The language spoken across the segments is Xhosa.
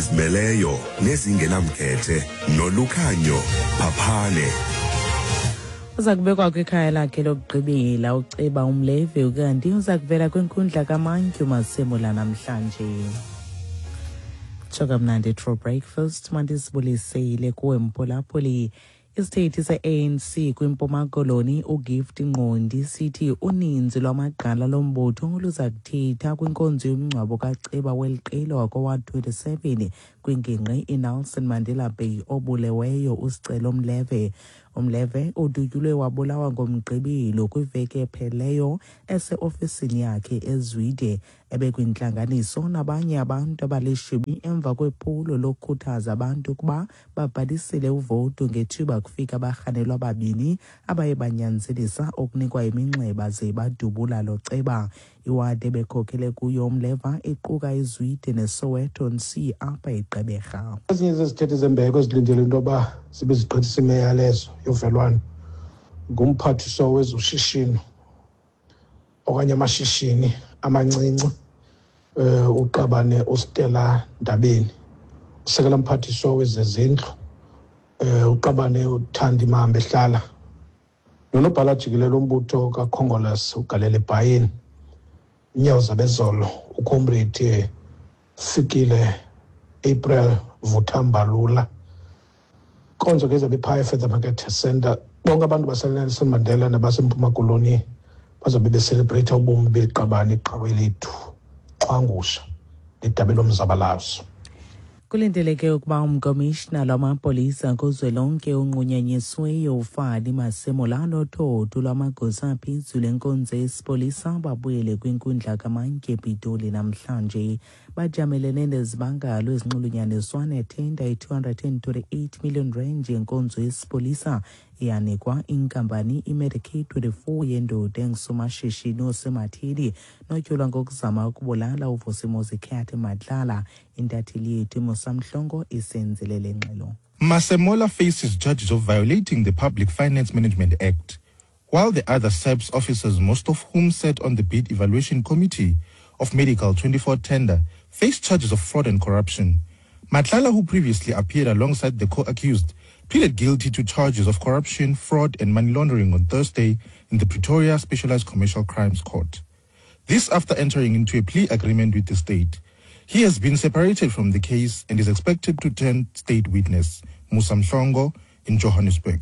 Zimeleyo nezingenamkhethe nolukhanyo phaphane. Uza kubekwa kwikhaya lakhe lokugqibela uceba umleve, ukanti uza kuvela kwinkundla kamantyu Masemola namhlanje. Tsho kamnandi True Breakfast, mandizibulisele kuwe mphulaphuli. Isithethi se-ANC kwiMpuma Koloni uGift Ngqondi sithi uninzi lwamagqala lombutho luza kuthetha kwinkonzo yomngcwabo kaceba weli qela wakowa-27 kwingingqi iNelson Mandela Bay obuleweyo uSicelo Mleve. UMleve udutyulwe wabulawa ngoMgqibelo kwiveki epheleyo eseofisini yakhe eZwide. Ebekwintlanganiso nabanye abantu abalishumi emva kwephulo lokukhuthaza abantu ukuba babhalisile uvoto ngethuba kufika abarhanelwa ababini abaye banyanzelisa ukunikwa iminxeba ze badubula lo ceba. Iwadi ebekhokhele kuyo uMleva iquka iZwide neSoweto C apha eGqeberha. Ezinye zezithethi zembeko ezilindele into yoba zibe zigqithisa imiyalezo yovelwano ngumphathiswa wezoshishino okanye amashishini amancinci, uqabane uStella Ndabeni, usekela mphathiswa wezezindlu, uqabane uThandi Mahambehlala, nonobhala jikelele umbutho kaKhongolose uGalele Bhayeni, inyawo zabezolo uComrade Fikile April Vuthambalula. Inkonzo ke izabe iphaya eFeather Market Center. Bonke abantu baseNelson Mandela nabaseMpuma Koloni bazabe beselebreyitha ubomi beliqabane, iqhawe lethu, Xhwangusha, lidabi lomzabalazo. Kulindeleke ukuba umkomishina lwamapolisa kuzwelonke unqunyanyisweyo uFani Masemola nothotho lwamagosa aphezulu enkonzo yesipolisa babuyele kwinkundla kamantyi ePitoli namhlanje. Bajamelene nezibangalo ezinxulunyaniswa nethenda ye-228 million rand yenkonzo yesipolisa eyanikwa inkampani iMedicaid 24 yendoda engusomashishini osematheni notyholwa ngokuzama ukubulala uVusimuzi Cat Matlala. Intatheli yethu Musa Mhlongo isenzele le ngxelo. Masemola faces charges of violating the Public Finance Management Act, while the other SAPS officers, most of whom sat on the bid evaluation committee of Medical 24 tender, face charges of fraud and corruption. Matlala, who previously appeared alongside the co-accused, pleaded guilty to charges of corruption, fraud and money laundering on Thursday in the Pretoria Specialized Commercial Crimes Court. This after entering into a plea agreement with the state. He has been separated from the case and is expected to turn state witness, Musa Mhlongo, in Johannesburg.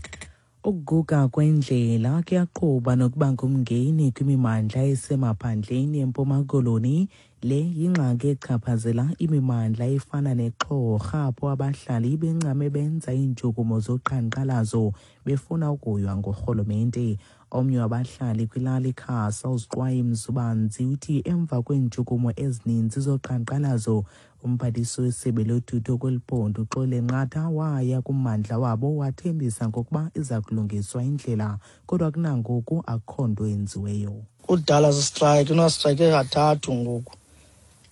Ukuguga kwendlela kuyaqhuba nokuba ngumngeni kwimimandla esemaphandleni eMpuma Koloni. Le yingxaki echaphazela imimandla efana neXhorha, apho abahlali bencame benza iintshukumo zoqhankqalazo befuna ukuywa ngurhulumente. Omnye wabahlali kwilali Khasa, uZiqwayi Mzubanzi, uthi emva kweentshukumo ezininzi zoqhankqalazo, umphathiswa wesebe lothutho kweli phondo uXolile Nqatha waya kummandla wabo wathembisa ngokuba iza kulungiswa indlela, kodwa kunangoku akukho nto yenziweyo. Kudala sistrike, unastrike kathathu ngoku.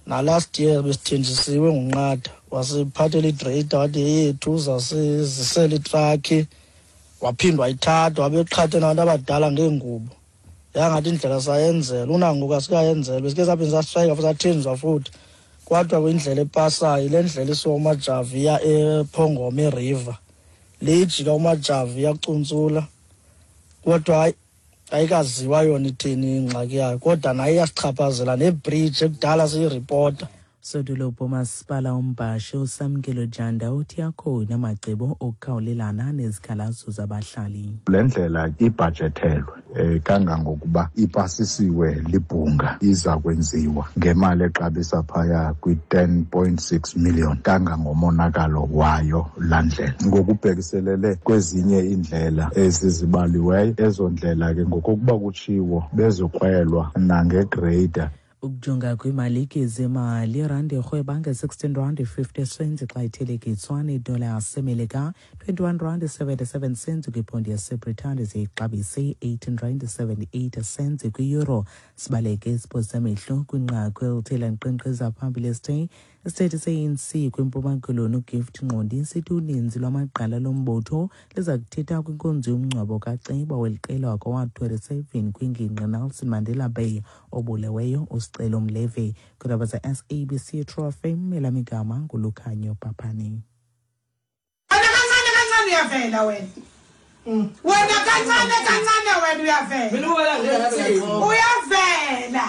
Na last year besithenjisiwe nguNqatha, wasiphathela igreyida wathi yeyethu uzasizisela itrakhi, waphindwa wayithatha, wabeqhathe nabantu abadala ngeengubo. Yangathi indlela sayenzela, unangoku asikayenzelwa. Besike saphinde sastrayika futhi sathenjiswa futhi. Kwathiwa kwindlela epasayo, yile ndlela isuka uMajavu iya ePhongoma eRiver. Le ijika uMajavu iyakuntsula. Kodwa hayi, ayikaziwa yona ithini ingxaki yayo, kodwa nayo iyasichaphazela nebridge ekudala siyiripota. Sodolophu umasipala uMbhashe uSamkelo Janda uthi akhona amacebo okukhawulelana nezikhalazo zabahlali. Le ndlela ibhajethelwe kangangokuba ipasisiwe libhunga, iza kwenziwa ngemali exabisa phaya kwi-10.6 million kangangomonakalo wayo laa ndlela. Ngokubhekiselele kwezinye iindlela ezizibaliweyo, ezo ndlela ke ngokokuba kutshiwo bezokrwelwa nangegreyida. Ukujonga kwiimalike zemali, irandi irhweba nge-16 rand 50 cents xa ithelekiswa nedola yaseMelika, 21 rand 77 cents kwiphondi yaseBritane, ziyixabise 18 rand 78 cents kwi-euro. Sibaleke isipho samehlo kwinqaku elithe lanqenqeza phambili esithe Isithethi se-ANC kwiMpuma Koloni uGift Ngqondi sithi uninzi lwamagqala lombutho liza kuthetha kwinkonzo yomngcwabo kaceba weli qela wakwa-Ward 27 kwingingqi Nelson Mandela Bay obuleweyo uSicelo Mleve. Kwiindaba ze-SABC True FM, elam igama nguLukhanyo Paphane. Wena kancane kancane uyavela wena. Wena kancane kancane wena uyavela. Uyavela. Uyavela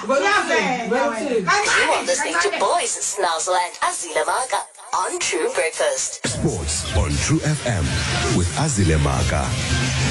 wena. You are listening to Kancane. Boys, Snazzle and Azile Maka on True Breakfast. Sports on True FM with Azile Maka.